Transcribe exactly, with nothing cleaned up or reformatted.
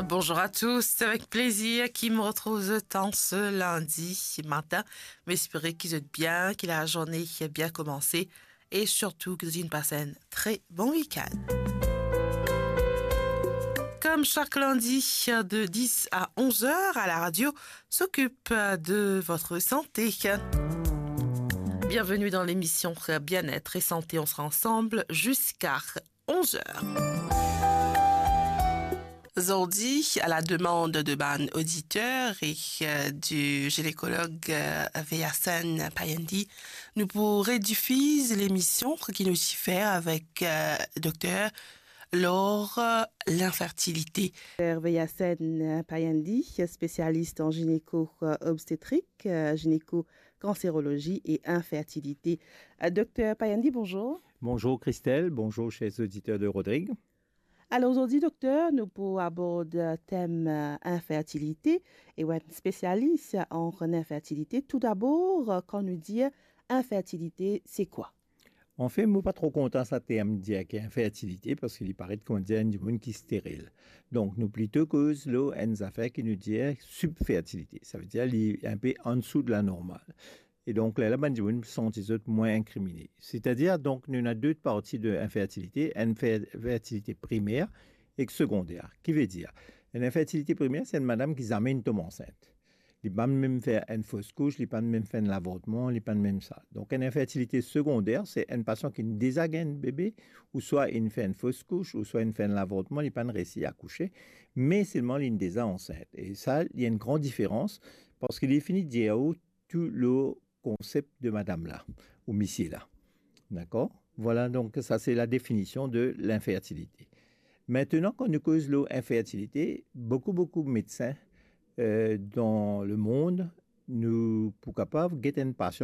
Bonjour à tous, c'est avec plaisir ki mo retrouv zot an se lindi matin. Mo espere ki zot bien, ki lazourne bien koumanse e sirtou ki zot inn pas enn tre bon week-end. Comme chaque lundi, de dix à onze heures à la radio, s'occupe de votre santé. Bienvenue dans l'émission Bien-être et Santé. On sera ensemble jusqu'à onze heures. Zordi, à la demande de bann auditeur e, euh, du gynécologue, euh, Veyasen Payandi, nou pou redifiz lemision ki nou ti fer avek, euh, dokter lor, euh, l'infertilité. Dokter Veyasen Payandi, spécialiste en gynéco-obstétrique, euh, gynéco-cancérologie et infertilité. Euh, dokter Payandi, bonjour. Bonjour Christelle, bonjour chers auditeurs de Rodrigue. Alor zordi, dokter, nou pou abord tem, euh, infertilité e ou enn spesialis an infertilité. Toudabor, euh, kan nou dir infertilité, se kwa? Anfin, mo pa tro kontan sa term dir ki infertilité, parski li paret kouma dir enn dimoun ki steril. Donk, nou plito koz lor enn zafer ki nou dir subfertilité. Savedir li enpe ansou de la normal. E donk, lerla bann dimoun santi zot mwin inkrimine. Setadir, donk, nou ena de parti de infertilité, enn fer-, infertilité primer ek segonder. Ki vedir, enn infertilité primer, se enn madam ki zame inn tom ansint. Li pa'nn mem fer enn fos kous, li pa'nn mem fer enn lavortman, li pa'nn mem sa. Donk, enn infertilité segonder, se enn pasian ki deza gagn bebe, ouswa inn fer enn fos kous, ouswa inn fer enn lavortman, li pa'nn resi akouse, me selman li deza ansint. E sa, li ena enn gran diferans, parski li fini dir ou tou lor konsep de madam la, ou misie la. Dakor? Vwala, donk sa se la definision de l'infertilité. Aster, kan nou koz lor infertilité, boukou, boukou medsin, euh, dan lemond, nou pou kapav get enn pasian